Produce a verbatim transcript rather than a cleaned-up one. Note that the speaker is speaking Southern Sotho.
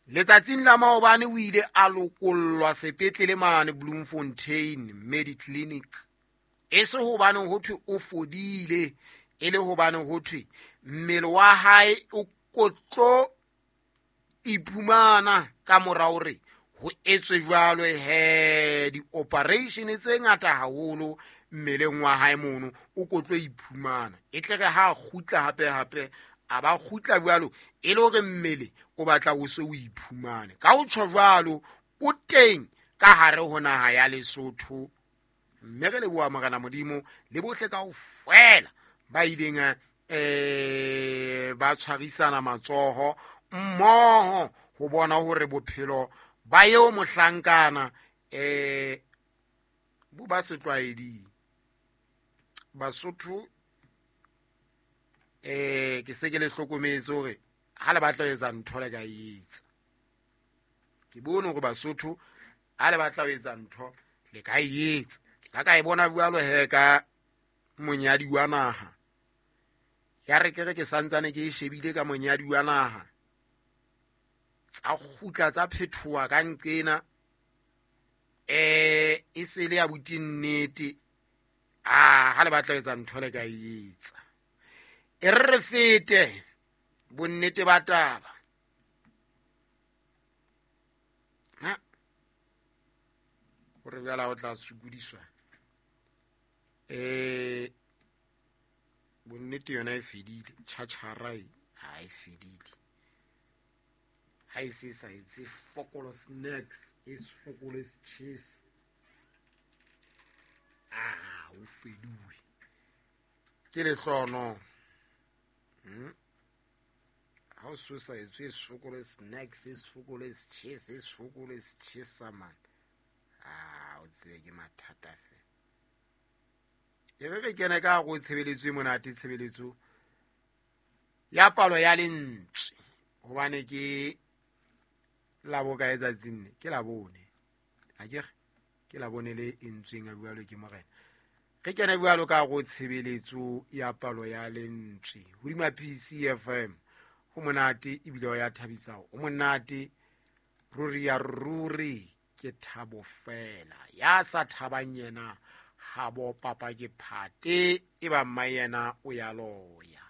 Letsatsing la maobane o ile a lokollwa sepetlele mane Bloemfontein Mediclinic. E se hobane ho thwe o fodile, e le hobane ho thwe mmele wa hae o kotlo iphumana ka mora hore ho etswe jwalo he di-operation tse ngata haholo mmeleng wa hae mono o kotlo iphumana. E tle re ha kgutla hape hape a ba kgutla jwalo e le hore mmele o batla o se o iphumane. Ka ho tjho jwalo o teng ka hare ho naha ya Lesotho. Mme re leboha Morena Modimo le bohle kaofela ba ileng eh ba tshwarisana matsoho mmoho ho bona hore bophelo ba eo mohlankana eh bo ba setlwaeding. Basotho eh ke se ke le hlokometse hore ha le batla ho etsa ntho le ka e etsa. Ke bone hore Basotho ha le batla ho etsa ntho le ka e etsa. La ka e bona jwalo he ka monyadi wa naha. Ya re ke re ke santsane ke e shebile ka monyadi wa naha. Tsa kgutla tsa phethoha ka nqena. Eh e se le ya buti nnete. Ah ha le batla ho etsa ntho le ka e etsa. E re re fete bonnete ba taba. Ha hore jwale ha o tla sokodiswa. Eh bonnete yona e fedile, tjhatjhara e ha e fedile. Ha e se sa etse fokolo snacks, e fokolo cheese. Ah, o feduwe. Ke lehlono. Hmm. Ha o so sa etse fokolo snacks, e fokolo cheese, e fokolo cheese man. Ah, o tsebe ke mathata fe. E re re kene ka go tshebeletso e monate, tshebeletso ya palo ya lentswe. Hobane ke la bokae tsatsing le? Ke la bone. Ha ke re ke la bone le entsweng a jwalo ke Morena. Re kene jwalo ka go tshebeletso ya palo ya lentswe hodima P C F M. Ho monate ebile o ya thabisa. O monate ruri ya ruri ke thabo fela. Ya sa thabang yena ha bo papa ke phate e ba mma yena o ya loya.